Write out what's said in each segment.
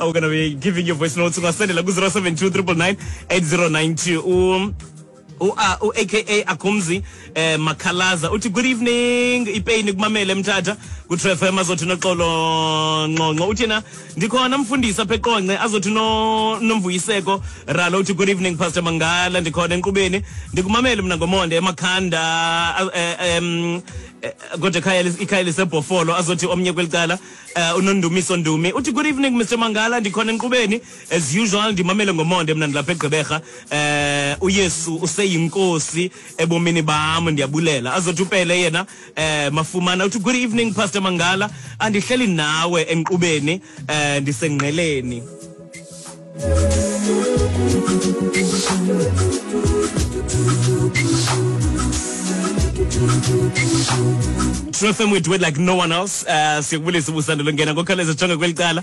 We're going to be giving you voice notes. Ungasendela ku-072 999 8092. U-aka Akumzi Makhalaza uthi good evening, ipeyini kumamele Mthatha ku-True FM. Azothi noxolo Nqonqo uthi yena ndikhona mfundisi apha eQonce. Azothi no Nomvuyiseko Ralo uthi good evening, Pastor Mangala, ndikhona enkqubeni, ndikumamele mna ngomonde eMakhanda, kodwa ikhaya liseBhofolo. Azothi omnye kweli cala, uNondumiso Ndumi uthi good evening, Mr Mangala, ndikhona enkqubeni as usual, ndimamele ngomonde mna ndilapha eGqeberha, uYesu useyinkosi ebomini bam, ndiyabulela. Azothi uPele yena Mafumana uthi good evening, Pastor Mangala, andihleli nawe enkqubeni, ndisengqeleni. True FM, we do it like no one else. Siyakubulisa ubusandula ngena ngokhawuleza, jonga kweli cala.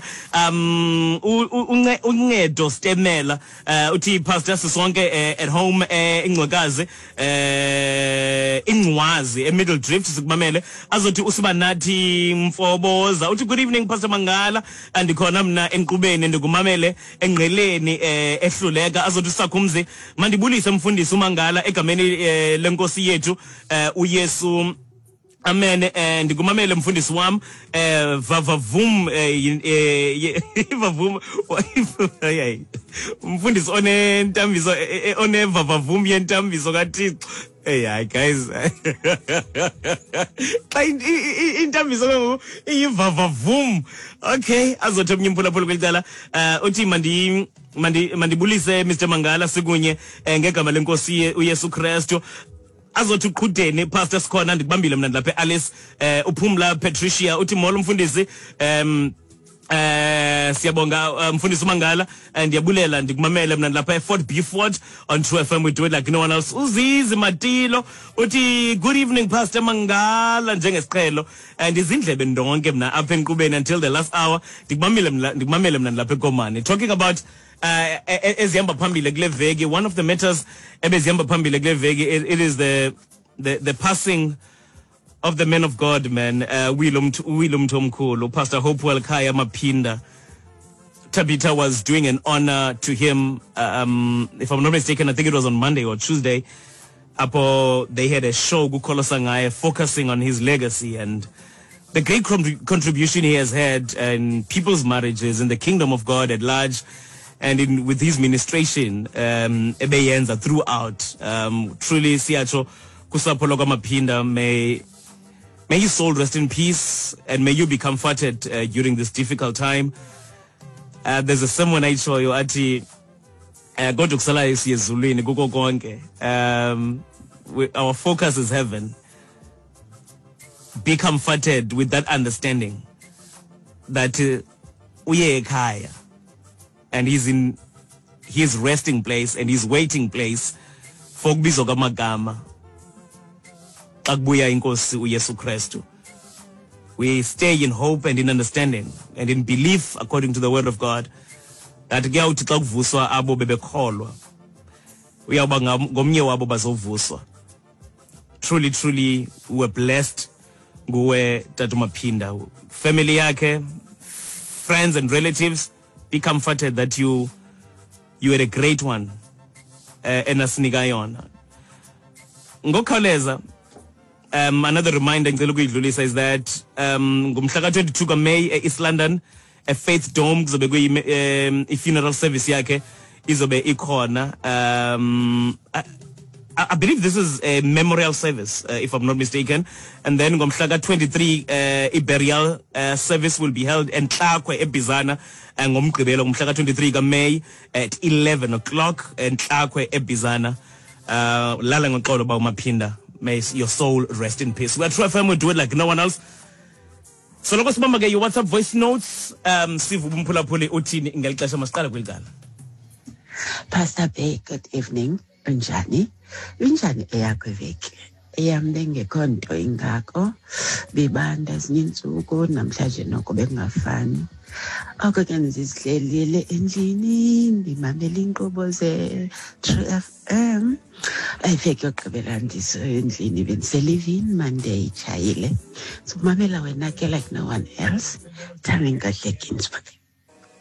Uncedo Stemela uthi pastor, sisonke at home, ingcwekazi, ingcwazi eMiddle Drift, sikumamele. Azothi uSibanathi Mfoboza uthi good evening, Pastor Mangala, andikhona mna enkqubeni, ndikumamele engqeleni ehluleka. Azothi uSakhumzi, mandibulise mfundisi uMangala egameni lenkosi yethu uYesu, amen. Ndikumamele mfundisi wam, vavavum, vavum, hayi, umfundisi onentambiso, onevavavum yentambiso kaThixo. Hey, hayi guys, xa intambiso ke ngoku iyivavavum. Okay, azothi omnye umphulaphula kweli cala, uthi mandibulise Mr Mangala, sikunye ngegama lenkosi uYesu Kristu. Azothi uqhudeni, pastor, sikhona, ndikubambile mna ndilapha eAlice. Uphumla Patricia uthi molo mfundisi, siyabonga, mfundisi uMangala, ndiyabulela, ndikumamele mna ndilapha eFort Beaufort on True FM, we do it like no one else. Uzizi Matilo uthi good evening, Pastor Mangala, njengesiqhelo ndizindlebe ndonke mna apha enkqubeni until the last hour, ndikumamele mna, ndikumamele mna ndilapha eKomani. Talking about ezihamba phambili kule veki, one of the matters ebezihamba phambili kule veki, it is the passing of the man of God, man, Willem Mthomkhulu, Pastor Hopewell Khaya Maphinda. Tabitha was doing an honor to him, if I'm not mistaken, I think it was on Monday or Tuesday. Apo they had a show kukholosa ngaye, focusing on his legacy and the great contribution he has had in people's marriages, in the kingdom of God at large, and in with his ministration ebeyenza throughout. Truly siyatsho kusapho lwakwaMaphinda, may his soul rest in peace and may you be comforted during this difficult time. There's a sermon ayitshoyo athi kodwa kusalayo siye ezulwini kuko konke. Our focus is heaven. Be comforted with that understanding that uye ekhaya and he's in his resting place and his waiting place for ukubizwa kwamagama xa kubuya inkosi uYesu Kristu. We stay in hope and in understanding and in belief according to the word of God that kuyawuthi xa kuvuswa abo bebekholwa, uyawuba ngomnye wabo bazovuswa. Truly, truly, we were blessed nguwe Tata Maphinda. Family yakhe, friends and relatives, be comforted that you had a great one enasinika yona ngokukhawuleza. Another reminder ngicela ukuyidlulisa is that ngomhla ka-22 kaMay e-East London, e-Faith Dome, kuzobe kuyi i-funeral service yakhe izobe ikhona. I believe this is a memorial service, if I'm not mistaken. And then ngomhla ka-23, i-burial service will be held eNtlakwe eBizana, ngomgqibelo ngomhla ka-23 kaMay at 11 o'clock eNtlakwe eBizana. Lala ngoxolo ba uMaphinda. May your soul rest in peace. We are True FM, we do it like no one else. Soloko sibamba ke your WhatsApp voice notes, siva umphulaphuli uthini ngeli xesha. Masiqale kweli cala. Pastor Bay, good evening. Unjani? Injani eyakho iveki? Eyam bengekho nto ingako. Bibanda ezinye iintsuku, namhlanje noko bekungafani. Oko ke ndizihlelile endlini ndimamela iinkqubo ze-True FM. Ayiveki yokugqibela ndisendlini, bendiselivini Monday itshayile. So mamela wena ke like no one else. Thami Nkohle, Ginsburg.